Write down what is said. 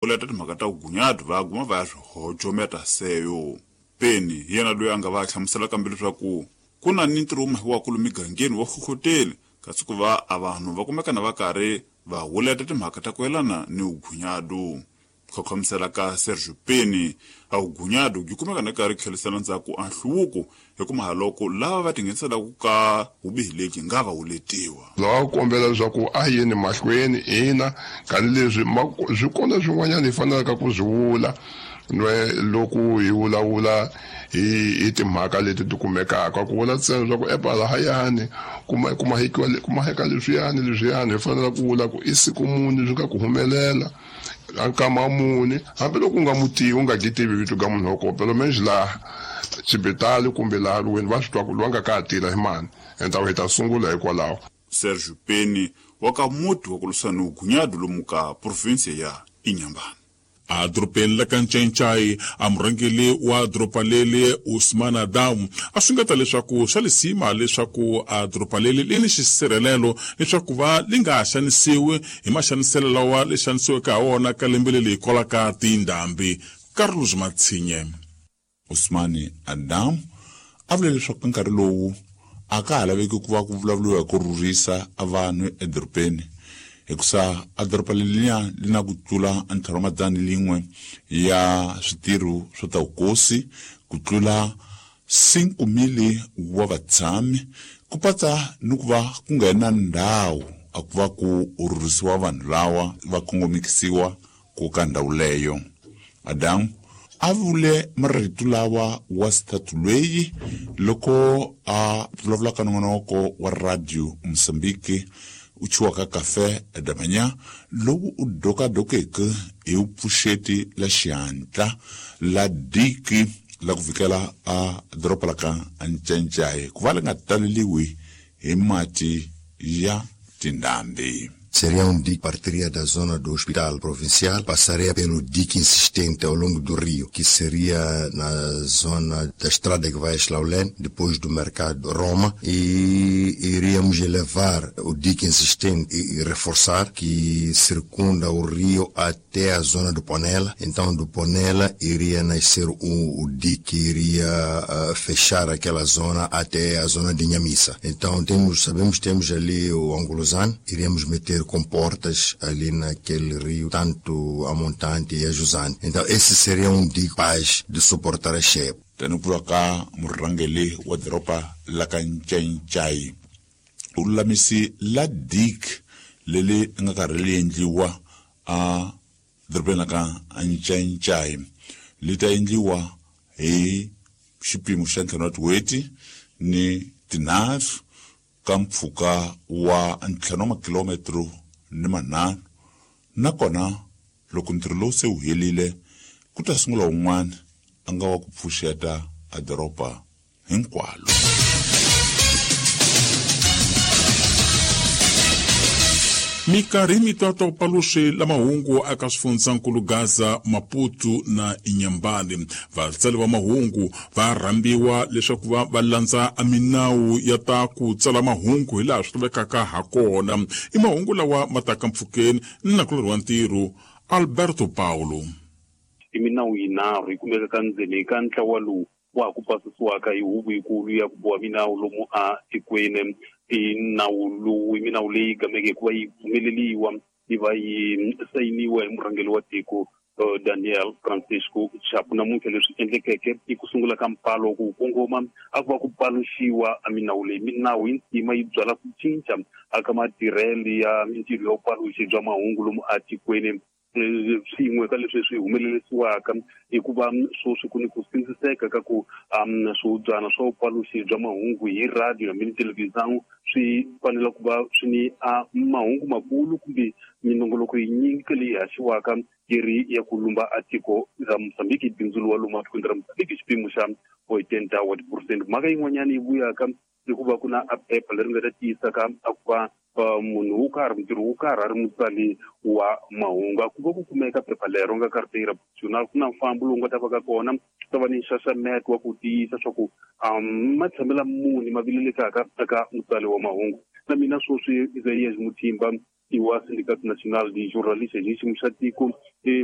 Leta timhaka ta vugunyadu va guma va ya swi hojometa seyo. Peni hi yena loyi a nga va hlamusela kambe leswaku ku na ni ntirho wu mahiwaka lomu migangeni wa hlohloteli, kasi ku va a vanhu va kumeka na va karhi va huleta timhaka ta ku yelana ni vugunyadu. Khokhomisela ka Sergio Peni, a vugunyadu byi kumeka na karhi tlhelisela ndzhaku a nhluvuko hi ku mahaloko lava va tingheniselaka ka vubihi lebyi nga va huletiwa. Lava ku kombela leswaku a yeni mahlweni ina tanihileswi swi kona swin'wanyana hi fanelaka ku swi vula nwe loko hi vulavula hi timhaka leti ti kumekaka ku vula ntsena leswaku epa lahayani kumahekiwa kumaheka leswiyani leswiyani hi fanele ku vula ku i siku muni swi nga ku humelela a nkama muni hambiloko u nga mu tivi u nga gi tivi vito ka munhu wa kona pelo menje laha xibitali kumbe laha lweni va swi twa ku loyi a nga ka ha tirha hi mani enta hi ta sungula hikwalaho. Sergio Peni wa ka muti wa ku lwisana ni vugunyadu lomu ka provinsia ya Inhambane. A dorobeni la ka Ncencai, a murhangeli wa doroba leli Usman Adam a xungeta leswaku swa lisima leswaku a doroba leli li ni xisirhelelo leswaku va li nga xanisiwi hi maxaniselo lawa li xanisiweke ha wona ka lembe leli hikwalaho ka tindhambi. Carlos Matsinye. Usman Adam a vule leswaku ka nkarhi lowu a ka ha laveki ku va ku vulavuriwa hi ku rhurhisa vanhu edorobeni hikusa a doroba leliya li na ku tlula ntlhanu wa madzana lin'we ya switirho swa ta vukosi ku tlula 5,000 wa vatshami ku patsa ni ku va ku nga na ndhawu a ku va ku rhurhisiwa vanhu lawa va kongomisiwa ku ka ndhawu leyo. Adamu a vule marito lawa wa xithathu lweyi loko a vulavula ka nongonoko wa radio Mozambique u chiwaka Café da Manhã lowu u dokadokeke hi vupfuxeti la xihatla la diki la ku vikela a doroba la ka Ncencai ku va li nga taleliwi hi mati ya tindhambi. Seria um dique que partiria da zona do hospital provincial, passaria pelo dique insistente ao longo do rio, que seria na zona da estrada que vai a Schlaulene, depois do mercado Roma, e iríamos elevar o dique insistente e reforçar, que circunda o rio até a zona do Ponela. Então, do Ponela iria nascer o dique que iria fechar aquela zona até a zona de Inhamissa. Então, sabemos que temos ali o Angolozano, iríamos meter com portas ali naquele rio, tanto a montante e a jusante. Então, esse seria um dique capaz de suportar a cheia. Tani ku ka murhangeli wa doroba la ka Ncencai u lulamisi la dik leli nga karhi li endliwa a dorobeni la ka Ncencai li ta endliwa hi xipimo xa ntlhanu wa tin'hweti ni tinharhu ka mpfhuka wa ntlhanu wa makilometro ni manharhu nakona loko ntirho lowu se wu helile ku ta sungula wun'wana a nga wa ku pfuxeta a doroba hinkwalo. Minkarhi mitwatwa paluxi la mahungu aka swifundzankulu Gaza, Maputo na Inhambane. Vatsali va mahungu va rhambiwa leswaku va va landza minawu ya ta ku tsala mahungu hilaha swi lavekaka ha kona. I mahungu lawa ma taka mpfhukeni ni nakulorhi wa ntirho Alberto Paulo. I minawu yinharhu yi kumeka ka ndzeni ka ntlawa lowu wa ha ku pasisiwaka hi huvo yikulu ya ku boha minawu lomu a tikweni. I nawu lowu i minawu leyi gameke hikuva yi pfumeleliwa yi va yi sayiniwa hi murhangeri wa tiko Daniel Francisco Chapo. Namuntlha leswi endlekeke i ku sungula ka mpfalo ku kongoma a ku va ku paluxiwa a minawu leyi. Minawu yi ntima yi byala ku cinca aka matirhelo ya mintirho ya vupaluxi bya mahungu lomu a tikweni. Swin'we ka leswi swi humelerisiwaka i ku va sweswi ku ni ku sindziseka ka ku swihubyana swa vupaluxi bya mahungu hi radio hambi ni televhizão swi fanele ku va swi ni a mahungu makulu kumbe minongoloko yinyingi ka leyi haxiwaka yi ri ya ku lumba a tiko ra Mozambique, bindzu lowa lomu atikweni ra Mozambique xipimo xa 80 wa tiphurosente. Mhaka yin'wanyana yi vuyaka i ku va ku na a phepha leri nga ta tiyisa ka a ku va munhu wo karhi mutirhi wo karhi a ri mutsali wa mahungu. A ku va ku kumeka phepha lero nga carteira profissional, ku na mfambo lowu nga ta va ka kona, ku ta va ni nxaxameto wa ku tiyisa swa ku matshamela muni ma vilelekaka eka mutsali wa mahungu. Na mina sweswi Isaias Muthimba I wa Sindicato Nacional de Jornalistas hi xiyimo xa tiko hi.